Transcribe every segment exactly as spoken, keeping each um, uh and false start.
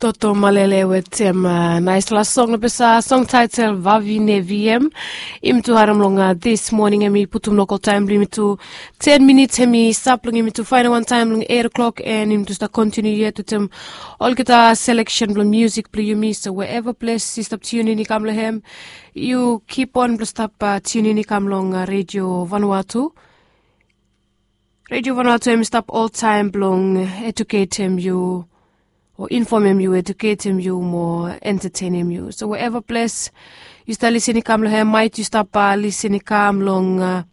Toto Malele wetem naispela song long pesa, song taitel Vavine Viem. Yumi tu harim long dis moning, em i putum lokal taim bilong yumi tu ten minits, em i stap long yumi tu fain wantaim long eight o'clock, en yumi tu stap kontinu yet wetem olgeta selection bilong musik bilong yumi. So wherever ples i stap tunin i kam long hem, yu kip on bilong stap tunin i kam long Radio Vanuatu. Radio Vanuatu em i stap oltaim bilong eduketim yu o infomim yu, eduketim yu mo entertainim yu. So wherever ples yu stap lisin i kam long hem, mait yu stap lisin i kam long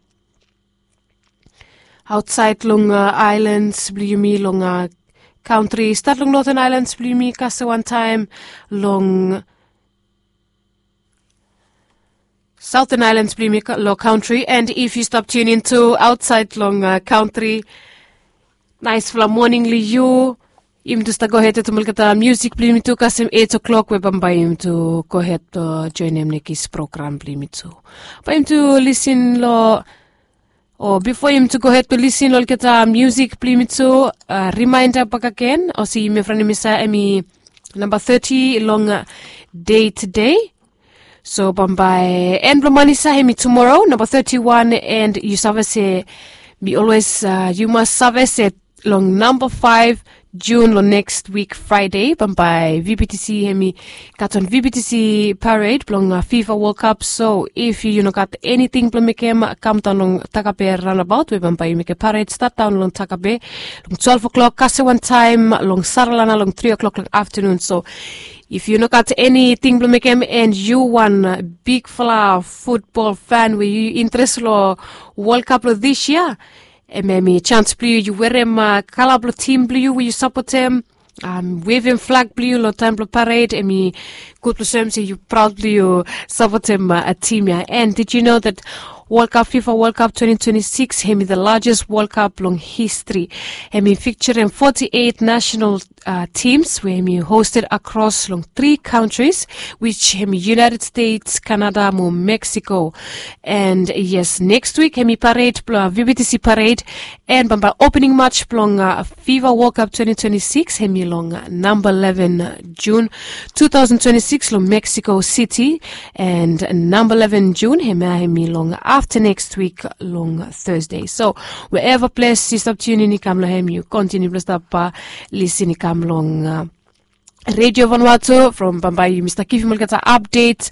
ausait long islands bilong yumi, long country, stat long Northern Islands bilong yumi, kase wantaim long Southern Islands bilong yumi long country, and if yu stap tunin tu ausait long country, naispela moning long yu. Yumi tu stap gohed wetem olgeta musik bilong yumi tu kasem eight o'clock, we bambae yumi tu gohed joinim nekis program bilong yumi tu. Bae yumi tu lisin long, o bipo yumi tu gohed tu lisin long olgeta musik bilong yumi tu, rimainda bakegen olsem yumi franem isa em i namba thirty long dei tude. So bambae en bilong man isa em i tumora namba thirty-one, and yu save se mi olwes, yu mas save se long namba five Jun long neks wik Fraide, bambae VBTC em i gat wan VBTC pared bilong FIFA World Cup. So if yu no gat eniting bilong mekem, kam daun long Takape ranabaut, we bambae yu mekem pared stat daun long Takape long twelve o'clock, kase wantaim long Saralana long three o'clock long aftanun. So if yu no gat eniting bilong mekem, and yu wan bigfala futbol fan we yu interes long World Cup long dis yia, em em i chans bilong yu, yu werim kala bilong tim bilong yu we yu sapotem, wevim flag bilong yu long taim bilong pared, em i gutpela soem se yu praud bilong yu sapotem tim ya. And did you know that World Cup, FIFA World Cup twenty twenty-six em i the largest World Cup long history? Em i featuring forty-eight national teams we em i hosted across long three countries, which em i United States, Canada mo Mexico. And yes, next week em i pared bilong VBTC pared, and bambae opening match bilong FIFA World Cup twenty twenty-six em i long number eleven June two thousand twenty-six long Mexico City, and number eleven June em ya em i long after next week long Thursday. So wherever ples yu stap tunin i kam long em, yu kontinu bilong stap lisin i kam long Radio Vanuatu. From bambae yumi stap givim olgeta update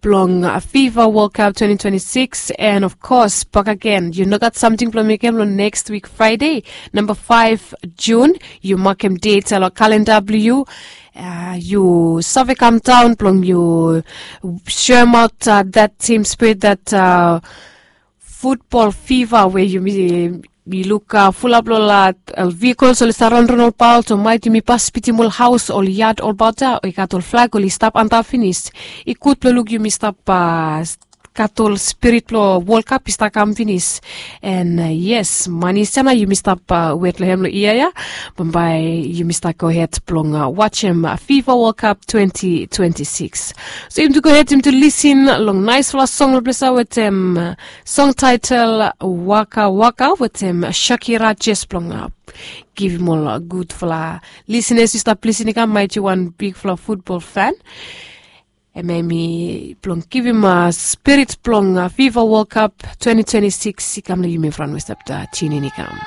bilong FIFA World Cup twenty twenty-six. And of course, bakegen, yu no gat samting bilong mekem long next week Friday, number five June. Yu makem date long kalenda bilong yu. Yu save kam daun bilong yu shoemaut that team spirit, that futbol fiva we yumi luk fulap long ol vehikol oli save ronron olbaot, o maet yumi pas bitim ol haus, ol yat olbaot ya, o i gat ol flag oli stap antap finis. I gud bilong luk yumi stap gat ol spirit bilong World Cup i stap kam finis. And yes, manis ya nao yumi stap wet long hem long yia ya. Bambae yumi stap go het bilong wasim fiva World Cup twenty twenty-six. So yumi tu go het, yumi tu lisin long naispela song long ples ya wetem song title Waka Waka wetem Shakira, jes bilong givim ol gudfala lisenas i stap lisin i kam, maet yu wan bigfala futbol fan. Em em i bilong givim spirit bilong fiva World Cup twenty twenty-six i kam long yumi from we stap tunin i kam.